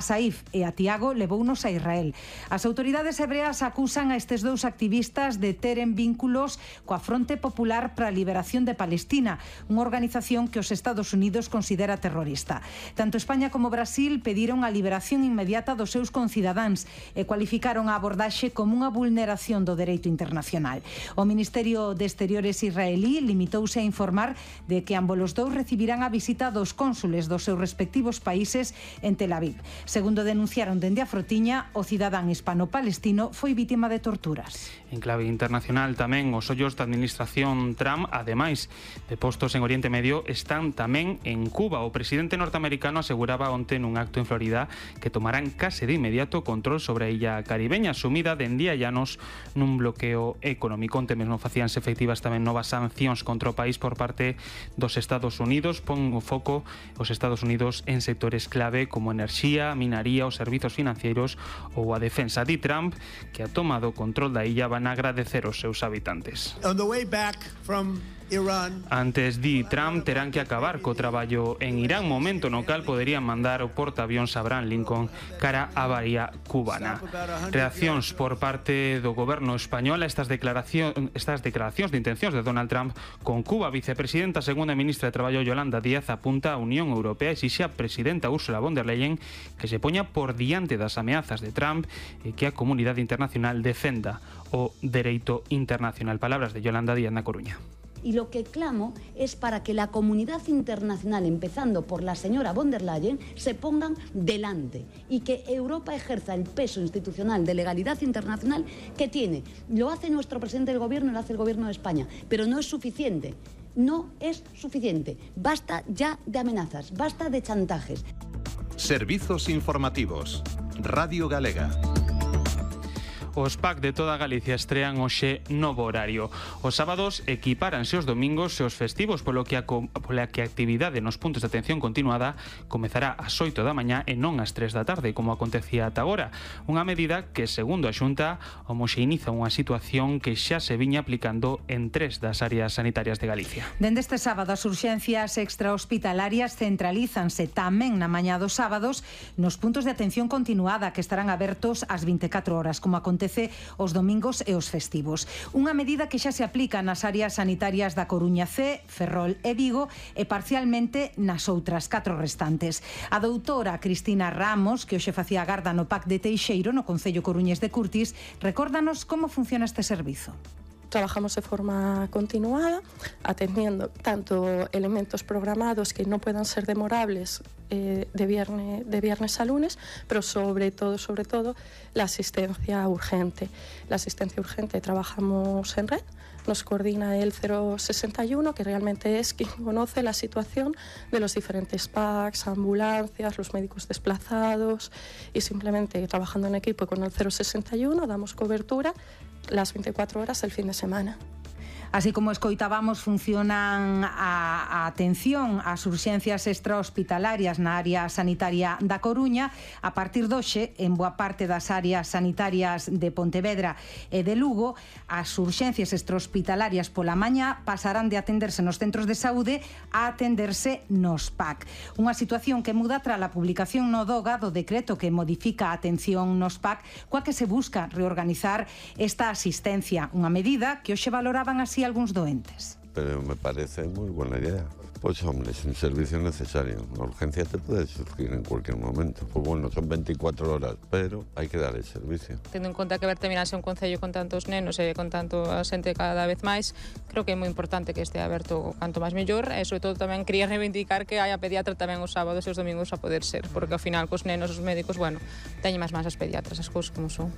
Saif e a Tiago levounos a Israel. As autoridades hebreas acusan a estes dous activistas de teren vínculos coa Fronte Popular para a Liberación de Palestina, unha organización que os Estados Unidos considera terrorista. Tanto España como Brasil pediron a liberación inmediata dos seus concidadáns e cualificaron a abordaxe como unha vulneración do dereito internacional. O Ministerio de Exteriores israelí limitouse a informar de que ambos os dous recibirán a visita dos cónsules dos seus respectivos países en Tel Aviv. Segundo denunciaron dende a Frotiña, o cidadán hispano-palestino foi vítima de torturas. En clave internacional tamén os ollos da administración Trump, ademais de postos en Oriente Medio, están tamén en Cuba. O presidente norteamericano aseguraba onte nun acto en Florida que tomarán case de inmediato control sobre a illa caribeña, sumida dende hai anos nun bloqueo económico. Onte mesmo facíanse efectivas tamén novas sancións contra o país por parte dos Estados Unidos. Pon o foco os Estados Unidos en sectores clave como enerxía, minaría, os servizos financeiros ou a defensa. Di Trump que a toma do control da illa van a agradecer aos seus habitantes. Antes, di Trump, terán que acabar co traballo en Irán, momento no cal poderían mandar o portaavións Abraham Lincoln cara á bahía cubana. Reaccións por parte do goberno español a estas declaracións de intencións de Donald Trump con Cuba. A vicepresidenta segunda e ministra de Traballo Yolanda Díaz apunta a Unión Europea e exixe a presidenta Ursula von der Leyen que se poña por diante das ameazas de Trump e que a comunidade internacional defenda o dereito internacional. Palabras de Yolanda Díaz na Coruña. Y lo que clamo es para que la comunidad internacional, empezando por la señora von der Leyen, se pongan delante y que Europa ejerza el peso institucional de legalidad internacional que tiene. Lo hace nuestro presidente del gobierno, lo hace el gobierno de España, pero no es suficiente. No es suficiente. Basta ya de amenazas, basta de chantajes. Servizos informativos. Radio Galega. Os PAC de toda Galicia estrean hoxe novo horario. Os sábados equipáranse os domingos e os festivos, polo que a actividade nos puntos de atención continuada comezará ás 8 da mañá e non ás 3 da tarde, como acontecía ata agora. Unha medida que, segundo a Xunta, homoxeiniza unha situación que xa se viña aplicando en 3 das áreas sanitarias de Galicia. Dende este sábado, as urxencias extrahospitalarias centralízanse tamén na mañá dos sábados nos puntos de atención continuada que estarán abertos ás 24 horas, como acontece os domingos e os festivos. Unha medida que xa se aplica nas áreas sanitarias da Coruña C, Ferrol e Vigo e parcialmente nas outras 4 restantes. A doutora Cristina Ramos, que hoxe facía garda no PAC de Teixeiro, no Concello Coruñés de Curtis, recórdanos como funciona este servizo. Trabajamos de forma continuada, atendiendo tanto elementos programados que no puedan ser demorables de viernes a lunes, pero sobre todo la asistencia urgente. La asistencia urgente trabajamos en red, nos coordina el 061, que realmente es quien conoce la situación de los diferentes PACs, ambulancias, los médicos desplazados, y simplemente trabajando en equipo con el 061 damos cobertura las 24 horas del fin de semana. Así como escoitábamos, funcionan a atención ás urxencias extrahospitalarias na área sanitaria da Coruña. A partir doxe, en boa parte das áreas sanitarias de Pontevedra e de Lugo, as urxencias extrahospitalarias pola mañá pasarán de atenderse nos centros de saúde a atenderse nos PAC. Unha situación que muda tras a publicación no DOGA do decreto que modifica a atención nos PAC, coa que se busca reorganizar esta asistencia, unha medida que hoxe valoraban así algúns doentes. Pero me parece muy buena idea. Pues hombre, es un servicio necesario. Una urgencia te puede surgir en cualquier momento. Pues bueno, son 24 horas, pero hay que dar el servicio. Tendo en conta que Bertaminas é un concello con tantos nenos e con tanto xente cada vez máis, creo que é moi importante que este aberto canto máis mellor, e sobre todo tamén quería reivindicar que haya pediatra tamén os sábados e os domingos a poder ser, porque ao final cos nenos, os médicos, bueno, teñen máis as pediatras, as cousas como son.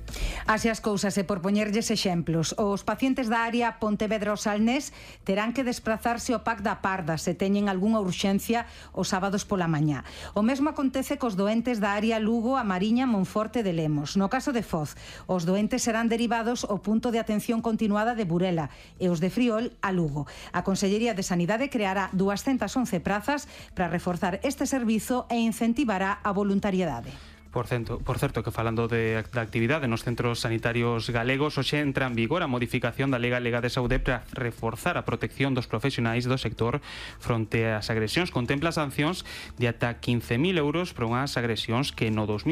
Así as cousas, e por poñerlles exemplos, os pacientes da área Pontevedra o Salnés terán que desplazarse ao PAC da Parda se teñen algunha urxencia os sábados pola mañá. O mesmo acontece cos doentes da área Lugo, A Mariña, Monforte de Lemos. No caso de Foz, os doentes serán derivados ao punto de atención continuada de Burela e os de Friol a Lugo. A Consellería de Sanidade creará 211 prazas para reforzar este servizo e incentivará a voluntariedade. Por certo, que falando da actividade nos centros sanitarios galegos, hoxe entra en vigor a modificación da Lei Galega de Saúde para reforzar a protección dos profesionais do sector fronte ás agresións. Contempla sancións de ata 15.000 euros por unhas agresións que no 2020